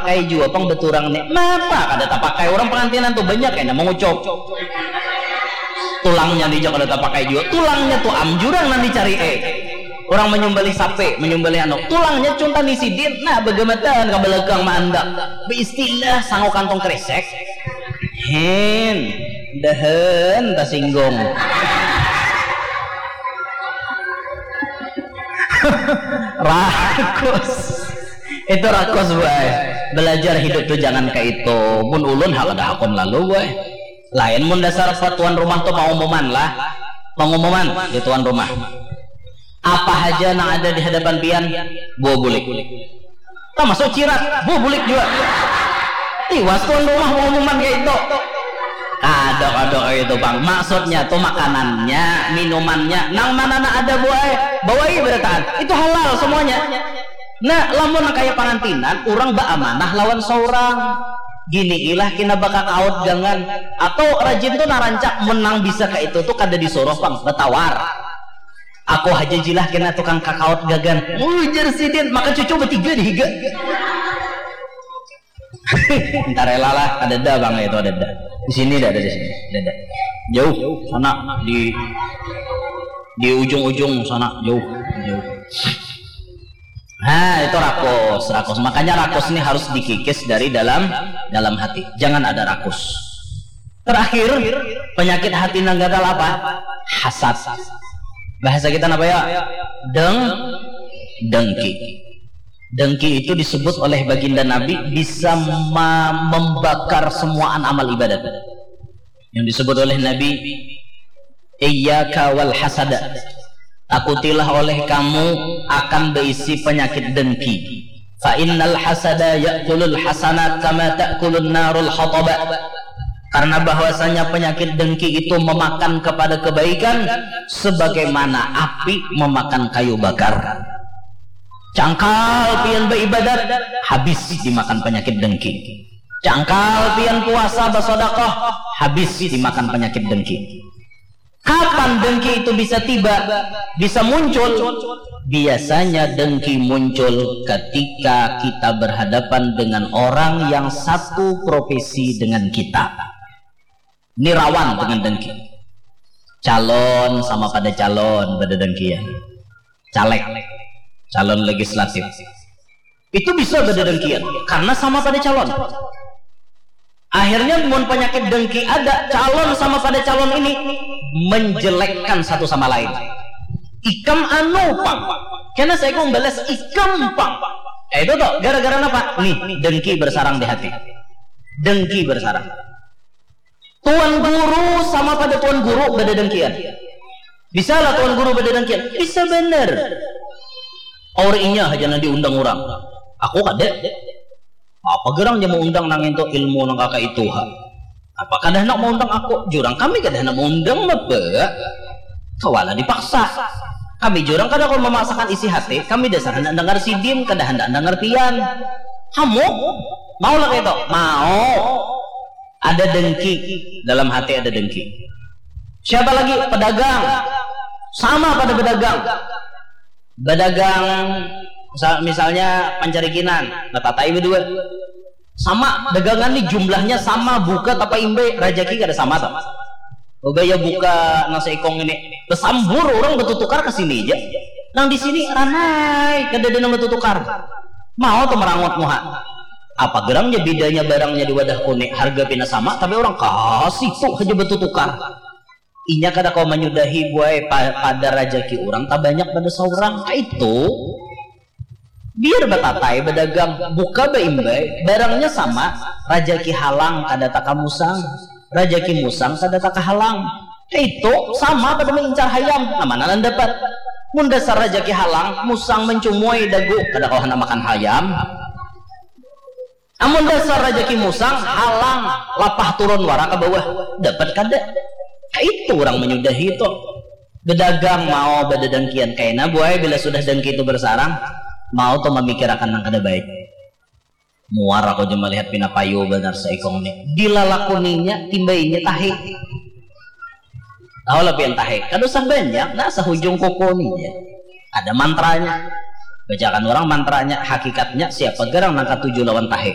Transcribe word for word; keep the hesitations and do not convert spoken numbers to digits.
Pakai jua pang baturang ni. Napa kada tapakai? Urang pangantinan tu banyak kena mangucup. Tulangnya dija kada tapakai jua. Tulangnya tu am jurang nang dicari, eh. Urang manyumbalih sapi, manyumbalih anu. Tulangnya cuntan di sidin. Nah, bagamatan ka balakang maandak. Baistilah sangu kantong kresek. Hen, dahan tasinggung. Rakus. Itu rakus, boy. Belajar hidup tu jangan kayak itu. Mun ulun ha kada hakun lalu, boy. Lain mun dasar tuan rumah tu pengumuman lah. Pengumuman di tuan rumah. Apa haja nang ada di hadapan pian, bawa bulik. Termasuk cirat, bawa bulik jua. Tiwas tuan rumah pengumuman kayak itu. Kada, kada kayak itu, Bang. Maksudnya tu makanannya, minumannya, nang mana nang ada, buai, bawai berataan. Itu halal semuanya. Nah, lamun nang kaya pangantinan, urang baamanah lawan saurang. Gini ilah kena bakakaut gangan. Atau rajin tu narancak menang bisa kayak itu tu kada disuruh pang, batawar. Aku haja jilah kena tukang kakaut gagan. Ujar sidin, maka cucu bertiga di higa. Entar rela lah, ada dah bang itu ada dah. Di sini dah ada di sini, ada dah. Jauh sana di di ujung-ujung sana jauh jauh. Nah itu rakus, rakus. Makanya rakus ini harus dikikis dari dalam dalam hati. Jangan ada rakus. Terakhir, penyakit hati nang gatal apa? Hasad. Bahasa kita apa ya? Deng, dengki. Dengki itu disebut oleh baginda Nabi bisa membakar semuaan amal ibadat. Yang disebut oleh Nabi, "Iyyaka wal hasada." Takutilah oleh kamu akan berisi penyakit dengki. Fa innal hasada ya'kulul hasanat kama ta'kulun narul hataba. Karena bahwasanya penyakit dengki itu memakan kepada kebaikan sebagaimana api memakan kayu bakar. Cangkal pian beribadat, habis dimakan penyakit dengki. Cangkal pian puasa, basodakoh, habis dimakan penyakit dengki. Kapan dengki itu bisa tiba, bisa muncul? Biasanya dengki muncul ketika kita berhadapan dengan orang yang satu profesi dengan kita. Ini rawan dengan dengki. Calon sama pada calon, pada dengkian. Caleg, calon legislatif. Itu bisa pada dengkian karena sama pada calon. Akhirnya mun penyakit dengki ada, calon sama pada calon ini menjelekkan satu sama lain. Ikam anu pang, kena saya kong balas ikam pang. Eh, itu tuh gara-gara apa? Nih, dengki bersarang di hati. Dengki bersarang. Tuan guru sama pada tuan guru beda dengkian. Bisa lah tuan guru beda dengkian. Bisa bener. Orang inya aja nang diundang orang. Aku kada. Apa gerang dia mau undang nang itu ilmu nang kakak itu ha? Apa kada hendak mau undang aku? Jurang kami kada hendak mau undang apa? Kawala dipaksa. Kami jurang kada kau memaksakan isi hati. Kami dasar hendak dengar sidim, kada hendak dengar pian. Kamu mau lah itu? Mau. Ada dengki, dalam hati ada dengki. Siapa lagi? Pedagang. Sama pada pedagang. Pedagang misal, misalnya pancarikinan, batatai berdua. Sama dagangan nih jumlahnya sama, buka tapa imbe, rajaki kada sama tuh. Ubaya buka nasi ikong ini, besambur orang bertutukar ke sini aja. Nang di sini ranai, kada ada nang bertutukar. Mau tuh merangut muha. Apa gerangnya bedanya barangnya di wadah kuning, harga pina sama tapi orang kasih tuh aja bertutukar. Inya kada kau menyudahi buai pa, pada rajaki orang tak banyak pada seorang itu. Biar batatai berdagang, buka beimbai, barangnya sama, rajaki halang kada taka musang, rajaki musang kada taka halang. Itu sama pada mengincar hayam, nama nanan dapat. Mun dasar rajaki halang, musang mencumui dagu, kada kau hendak makan hayam. Amun dasar rajaki musang, halang, lapah turun wara ke bawah, dapat kada. Itu orang menyudahi itu. Bedagang mau bededengkian kaina buai bila sudah dengki itu bersarang, mau tuh memikirakan nang kada baik. Muar aku aja melihat pina payu banar seikong ni. Dilalakuninya, timbainya tahi. Tahu lah pian tahi, kada usah banyak, nah sehujung kuku ni ya. Ada mantranya. Bacakan orang mantranya, hakikatnya siapa gerang nang katuju lawan tahi.